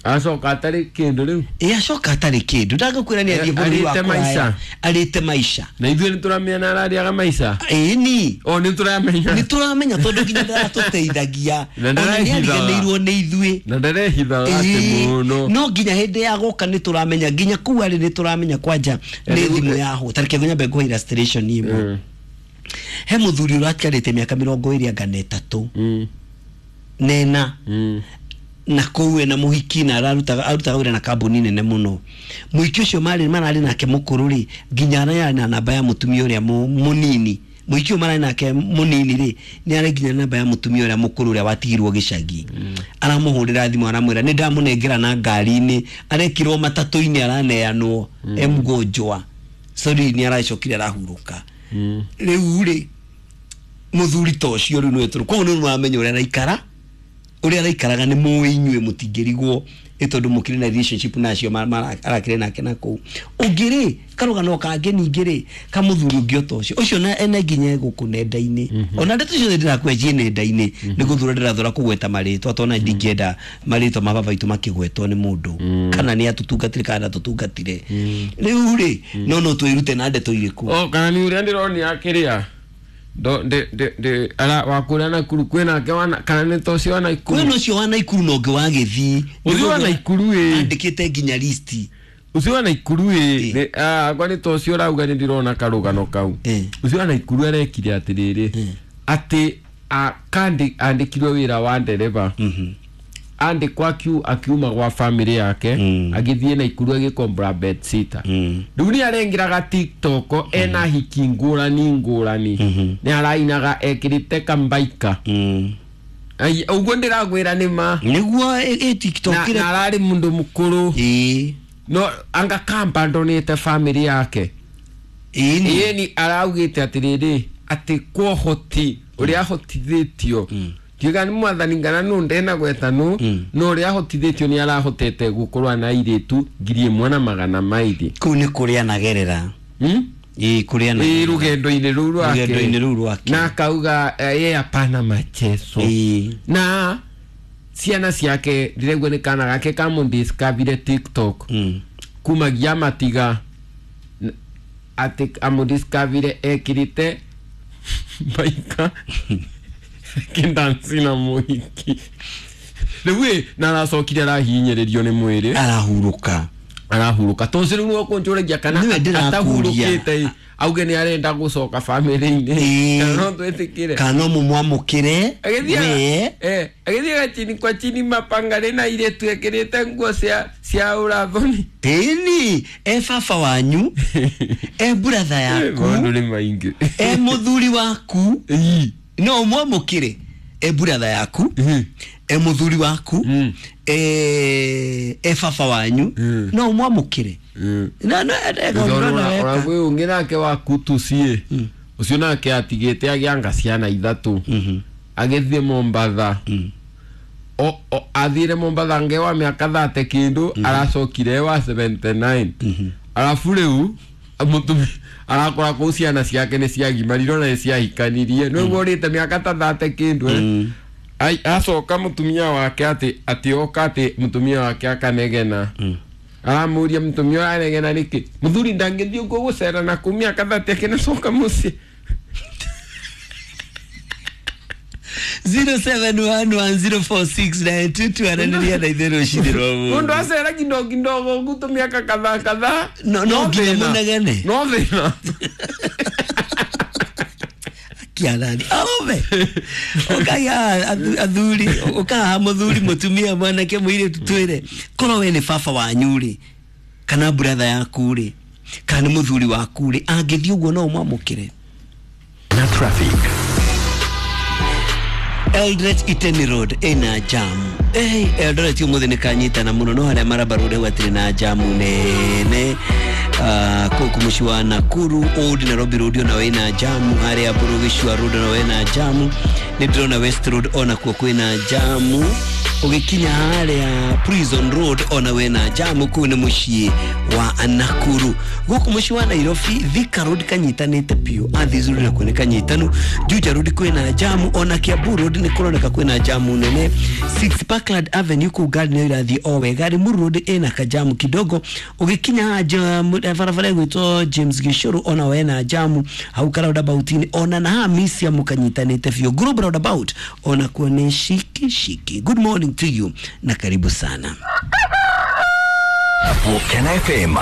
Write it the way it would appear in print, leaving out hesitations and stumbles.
Acoka atarĩ kĩndũ rĩu. Ĩ acoka atarĩ kĩndũ, ndagakwĩra nĩ athiĩ bũrũri wa Arĩte kũraya. maica. Arĩte maica. Na ithuĩ nĩ tũramenya ararĩaga maica. Ĩni. O nĩ tũramenya. Nĩ tũramenya tondũ nginya ndaratũteithagia. Na Ona nĩ ndarehithaga. ariganĩirwo nĩ ithuĩ. Na ndarehithaga atĩ Ĩĩ, mũno. no nginya hĩndĩ ya gũka nĩ tũramenya nginya kũu arĩ nĩ tũramenya kwanja nĩ thimũ yahũ. Tareke nyambe ngũhe illustration ĩmwe. He mũthuri ũratigarĩte mĩaka 23 nena na kũu ena mũhiki na ararutaga arutaga wĩra na kambuni nene mũno. Mũhiki ũcio marĩ mararĩ nake mũkũrũ rĩ, nginya ararĩ na namba ya mũtumia ũrĩa mũnini. Mũhiki ũyũ mararĩ nake mũnini rĩ, nĩ arĩ nginya namba ya mũtumia ũrĩa mũkũrũ ũrĩa watigirwo gĩcagi. Aramũhũrĩra thimũ aramwĩra nĩ ndamũnengera na ngari-inĩ, arekirwo matatũ-inĩ araneanwo e mgonjwa. Sorry, nĩ aracokire arahurũka. Rĩu rĩ, mũthuri ta ũcio rĩu nĩwe tũrũ koguo nĩ mũramenya ũrĩa araikara, ũrĩa araikaraga nĩ mũĩ inyuĩ mũtingĩrigwo nĩ tondũ mũkĩrĩ na relationship na acio arakĩrĩ nake na kũu. Ũngĩ rĩ, karũgano kangĩ ningĩ rĩ, ka mũthuri ũngĩ o ta ũcio, ũcio na ena nginya gũkũ nenda-inĩ. Ona ndeto ciothe ndĩrakũhe ciĩ nenda-inĩ, nĩ gũthura ndĩrathura kũgweta marĩtwa, tondũ ona ndingĩenda marĩtwa ma baba witũ makĩgwetwo nĩ mũndũ, kana nĩ atũtungatire kana ndatũtungatire. Rĩu rĩ, no no twĩrute na ndeto irĩkũ? O kana nĩ ũrĩa ndĩronia kĩrĩa ndo ndĩ ndĩ ndĩ ara wakũrĩa Nakuru kwĩna wana kana nĩ ta ũcio wa Nakuru. Kwĩna ũcio wa Nakuru na ũngĩ wa Gĩthii. Ũcio wa Nakuru ĩ. Andĩkĩte nginya listi. Ũcio wa Nakuru ĩ, nĩ akwa nĩ ta ũcio ũrauga nĩ ndĩrona karũgano kau. Ũcio wa Nakuru arekire atĩrĩrĩ, atĩ andĩkirwo wĩra wa ndereba. Andĩkwo akiuma gwa family yake, agĩthiĩ Nakuru agĩkombora bedsitter. Rĩu nĩ arengeraga TikTok ena hiki ngũrani ngũrani. Nĩ arainaga ekĩrĩte kambaika. Ũguo ndĩrakwĩra nĩ ma. Nĩguo ĩ TikTok Na ararĩ mũndũ mũkũrũ. No anga kamba ndonete family yake. Ĩni araugĩte atĩrĩrĩ, atĩ kwohoti ũrĩa ahotithĩtio. Ndiuga nĩ mwathani ngana nũ ndena gweta nũ, no ũrĩa ahotithĩtio nĩ arahotete gũkorwo na airĩtu 1200. Kũu nĩ kũrĩa anagerera. Ĩĩ, kũrĩa anagerera. Ĩĩ, rũgendo-inĩ rũu rwake. Rũgendo-inĩ rũu rwake. Na akauga ye hapana machezo. Na ciana ciake ndĩraigua nĩ kana gake kamũdiscoverire TikTok. Kumagia matiga atĩ amũdiscoverire ekĩrĩte baika kĩndansi na mũhiki. Rĩu ĩ, na aracokire arahinyĩrĩrio nĩ mwĩrĩ. Arahurũka. Arahurũka. Tondũ rĩu no kũnjũragia kana Nĩwe ndĩrakũria. atahurũkĩte ĩ, auge nĩ arenda gũcoka family-inĩ. Kana no twĩtĩkĩre. Kana no mũmwamũkĩre. We. Agĩthiĩ gachini kwa chini mapanga na airĩtu ekĩrĩte nguo cia ũrathoni. Ĩni, e baba wanyu, e brother yaku, Maũndũ nĩ maingĩ. e mũthuri waku, no ũmwamũkĩre. E brother yaku, e mũthuri waku, e baba wanyu, no ũmwamũkĩre. Na, na, eka ũndũ na weka. Ona kwĩ ũngĩ nake wa Kutusi, ũcio nake atigĩte agĩanga ciana ithatũ. Agĩthiĩ Mombatha. Athire Mombatha nge wa mĩaka 30 kĩndũ, aracokire wa 79. Arabu rĩu mũtumia arakora kũu ciana ciake nĩ ciagimarire ona nĩ ciahikanirie. Nĩguo ũrĩte mĩaka ta 30 kĩndũ. Acoka mũtumia wake atĩ oka atĩ mũtumia wake akanegena. Aramũria mũtumia ũyũ aranegena nĩkĩ? Mũthuri ndangĩthiĩ ũguo gũcera na kũu mĩaka 30 akĩnacoka mũciĩ. 0711046922 aranĩria na ithuĩ rũcinĩ rwa ũmũthĩ. Mũndũ acera kidogo kidogo ũguo tũmĩaka kadhaa kadhaa. No, no nginya mũnegene. No thĩna. Kiarani. Arũme. Ũkai haha, athuri, ũka haha mũthuri, mũtumia, mwanake, mũirĩtu, twĩre. Korwo we nĩ baba wanyu rĩ, kana brother yaku rĩ, kana nĩ mũthuri waku rĩ, angĩthiĩ ũguo no ũmwamũkĩre. Na traffic. Eldoret Iten Road ina jam. Eldoret ũmũthĩ nĩ kanyitana mũno, no harĩa Maraba Road hau hatirĩ na jamu nene. Kũu mũciĩ wa Nakuru, Old Nairobi Road ona ina jamu, harĩa Burugicua Road ona ina jamu. Nĩ ndĩrona West Road ona kuo kwĩna jamu. Ũgĩkinya harĩa Prison Road ona wena jamu kũu nĩ mũciĩ wa Nakuru. Gũkũ mũciĩ wa Nairobi, Thika Road kanyitanĩte biũ, Athis Road nakuo nĩ kanyitanu, Juja Road kwĩna jamu, ona Kiambu Road nĩ kũroneka kwĩna jamu nene. 6 Parkland Avenue kũu ngari nĩyo irathiĩ o wega. Limuru Road ĩna kajamu kidogo. Ũgĩkinya haha barabara ĩgwĩtwo James Gishuru ona wena jamu hau ka roundabout-inĩ, ona na haha Misia mũkanyitanĩte biũ. Global roundabout ona kuo nĩ shiki shiki. Good morning to you na karibu sana. Volcano FM.